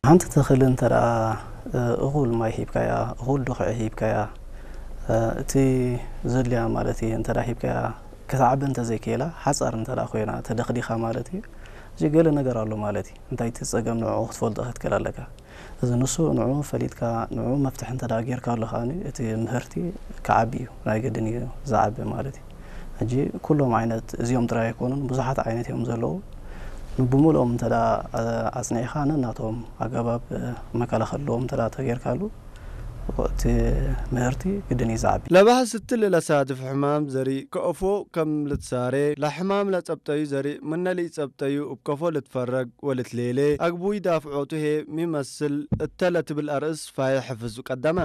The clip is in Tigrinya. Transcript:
ሓንቲ ተኽሊ እንተ ደኣ እኹል ማይ ሂብካያ፣ እኹል ድኹዒ ሂብካያ፣ እቲ ዘድልያ ማለት እዩ እንተ ደኣ ሂብካያ፣ ክትዓቢ እንተ ዘይክእላ፣ ሓጻር እንተ ደኣ ኮይና ተደኽዲኻ ማለት እዩ፣ እዚ ገለ ነገር ኣሎ ማለት እዩ። እንታይ እቲ ጸገም ንዕኡ ክትፈልጦ ክትክእል ኣለካ። እዚ ንሱ ንዕኡ ፈሊጥካ፣ ንዕኡ መፍትሒ እንተ ደኣ ጌርካሉ ከኣ እቲ ምህርቲ ክዓቢ እዩ፣ ናይ ግድን እዩ ዝዓቢ ማለት እዩ። ሕጂ ኩሎም ዓይነት እዚኦም ጥራይ ኣይኮኑን፣ ብዙሓት ዓይነት እዮም ዘለዉ። ብሙሉኦም እንተ ደኣ ኣጽኒዕካ ነናቶም ኣገባብ መከላኸልዎም እንተ ደኣ ተጌርካሉ እቲ ምህርቲ ግድን እዩ ዝዓቢ። ለባህስቲ ለሳድፍ ሕማም ዘርኢ ከእፎ ከም ልትሳሬ ለሕማም ለጸብጠዩ ዘርኢ ምነሊ ጸብጠዩ እብ ከፎ ልትፈረግ ወልትሌሌ ኣግቡይ ዳፍዖቱ ሄ ሚመስል እተ ለትብል ኣርእስ ፋየ ሕፍዙ ቀደመ።